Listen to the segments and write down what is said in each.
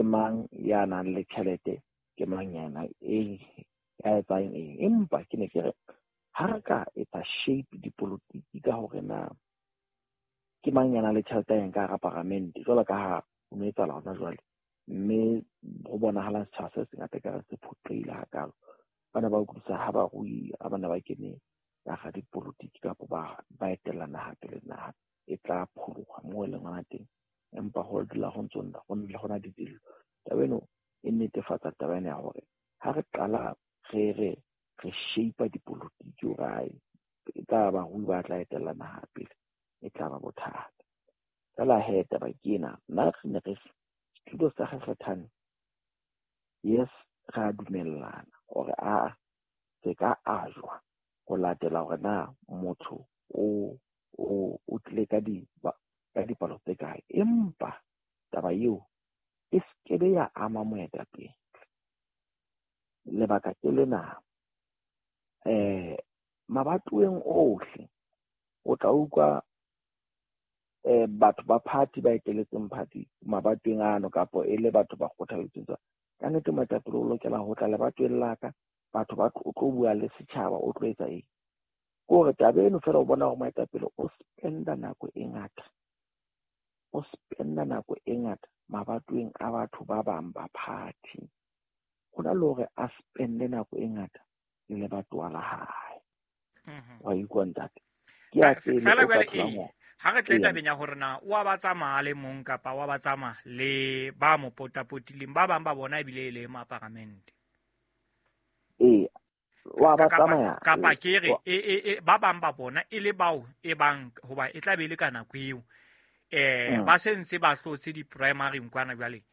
mang ya nang le tjhelete, ke mang yana e ya etsang eng. Empa ke ne ke re ha re ka etsa shape dipolotiki ka hore na ke mang ya nang le tjhelete ya ka hara paramente, jwalo ka ha ho no etsahala hona jwale, mme ho bonahala setjhaba se sengata ka re se phoqehile hakalo. Ba ne ba utlwisisa ha barui ha ba ne ba kene ka hara dipolotiki kapa ba etella naha pele, naha e tla pholoha moo e leng hona teng. Empa ho dula ho ntso ho na le dillo. Taba eno e netefatsa taba ena ya hore ha re qala re re re shape dipolotiki hore e tla barui ba tla etella naha pele, e tla ba bothata. Feela he taba ke ena, nna re ne re setulo sa kgekgethane, yes, re a dumellana hore a se ka ajwa ho latela hore na motho o tlile ka dipalo tse kae, empa taba eo e skebe ya ama moetapele. Lebaka ke lena, mabatoweng ohle o tla utlwa batho ba party ba eteletseng party mabatoweng ano, kapa e le batho ba kgothaletseng. Ka nnete moetapele o lokela ho tla lebatoweng la ka, batho ba o tlo bua le setjhaba, o tlo etsa eng. Ke hore taba eno feela o bona hore moetapele o spenda nako e ngata, o spenda nako e ngata mabatoweng a batho ba bang ba party, ho na le hore a spende nako e ngata le lebatowa la hae. Wa utlwa ntate? Ke a pele o ka tholang hore ha re tle tabeng ya hore na wa ba tsamaya le mong kapa wa ba tsamaya le ba mo potapotileng, ba bang ba bona ebile e le maparamente. Ee, wa ba tsamaya kapa ke re ba bang ba bona e le bao e bang hoba e tla be le ka nako eo ba sentse ba hlotse di-primary kwana jwale,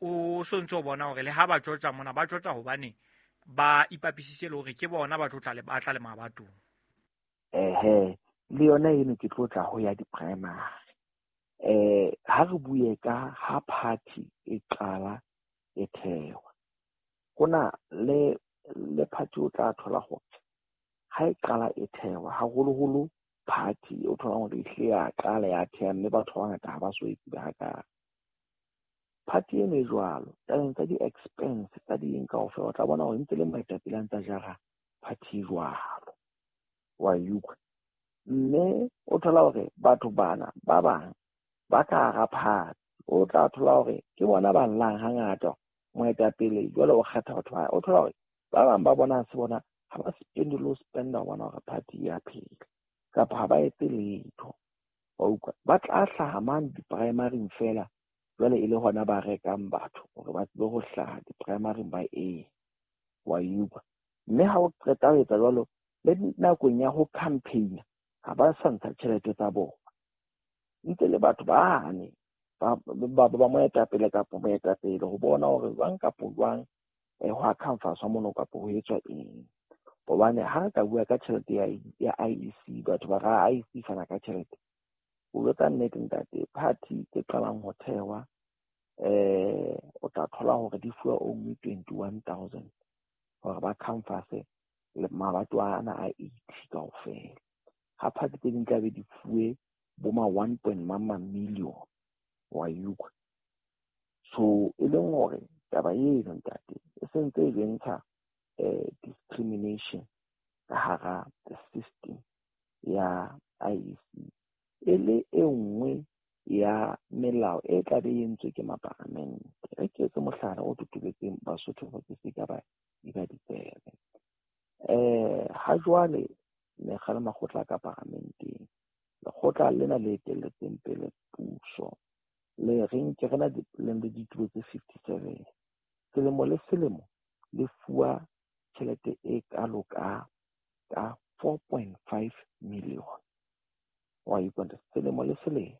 o so ntse o bona hore le ha ba tjotja mona ba tjotja hobane ba ipapisitse le hore ke bona ba tlo tla le ba tla le mabatong. Ehe, le yona eno ke tlo tla ho ya di-primary. Ha re bue ka ha party e qala e thewa, hona le party o tla thola hore ha e qala e thewa, haholoholo party o thola hore ehlile ya qala ya theha, mme batho ba bangata ha ba so e tsebe hakalo. Party eno e jwalo, tabeng tsa di-expense tsa di eng kaofela, o tla bona hore ntse le moetapele a ntsa jara party jwalo. Wa utlwa? Mme o thola hore batho bana ba bang ba ka hara party, o tla thola hore ke bona ba llang hangata moetapele jwale o kgetha batho ba, o thola hore ba bang ba bona se bona ha ba spende le ho spenda ho bona hore party ya phela, kapa ha ba etse letho. Wa utlwa? Ba tla hlaha mane di-primaryng feela, jwale e le hona ba rekang batho hore ba tsebe ho hlaha di-primaryng ba eng. Wa utlwa? Mme ha o qeta ho etsa jwalo, le nakong ya ho campaign ha ba sa ntsha tjhelete tsa bona, ntse le batho bane ba moetapele kapa moetapele ho bona hore jwang kapa jwang ho a canvaswa mono kapa ho etswa eng. Hobane ha re ka bua ka tjhelete ya IEC, batho ba ra IEC fana ka tjhelete. O jwetsa nnete ntate, party tse qalang ho thewa o tla thola hore di fuwa only 21,000 hore ba canvase le mabato ana a 80 kaofela. Ha party tse ding tla be di fuwe bo ma 1 point mang million. Wa utlwa? So e leng hore taba eno ntate e sentse e bentsha discrimination ka hara the system ya IEC, e le e nngwe ya melao e tla be e entswe ke maparamente. Re ke etse mohlala o totobetseng Basotho hore ke se ka ba eba ditsebe. Ha jwale mekga le makgotla ka paramenteng, lekgotla lena le etelletseng pele puso le reng ke rena le ditulo tse 57, selemo le selemo le fuwa tjhelete e kalo ka 4.5 million. Wa utlwa? Selemo le selemo.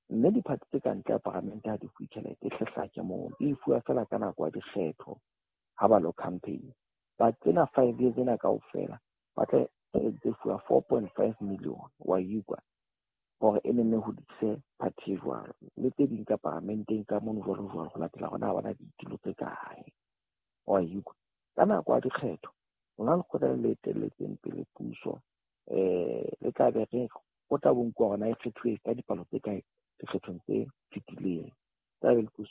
Mme diphathi tse ka ntle ya paramente ha di fuwe tjhelete, e hlehlake moo, di fuwa feela ka nako ya dikgetho ha ba lo campaign. Ba tsena 5 years ena kaofela ba tla tse fuwa 4.5 million. Wa utlwa? Hore e nenne hodise party jwalo le tse ding ka paramenteng ka mono jwalo jwalo, ho latela hore na ba na ditulo tse kae. Wa utlwa? Ka nako ya dikgetho lona lekgotla le etelletseng pele puso le tla be re o tla bo nkuwa hore na e kgethuwe ka dipalo tse kae dikgethong tse fetileng. Tla be le puso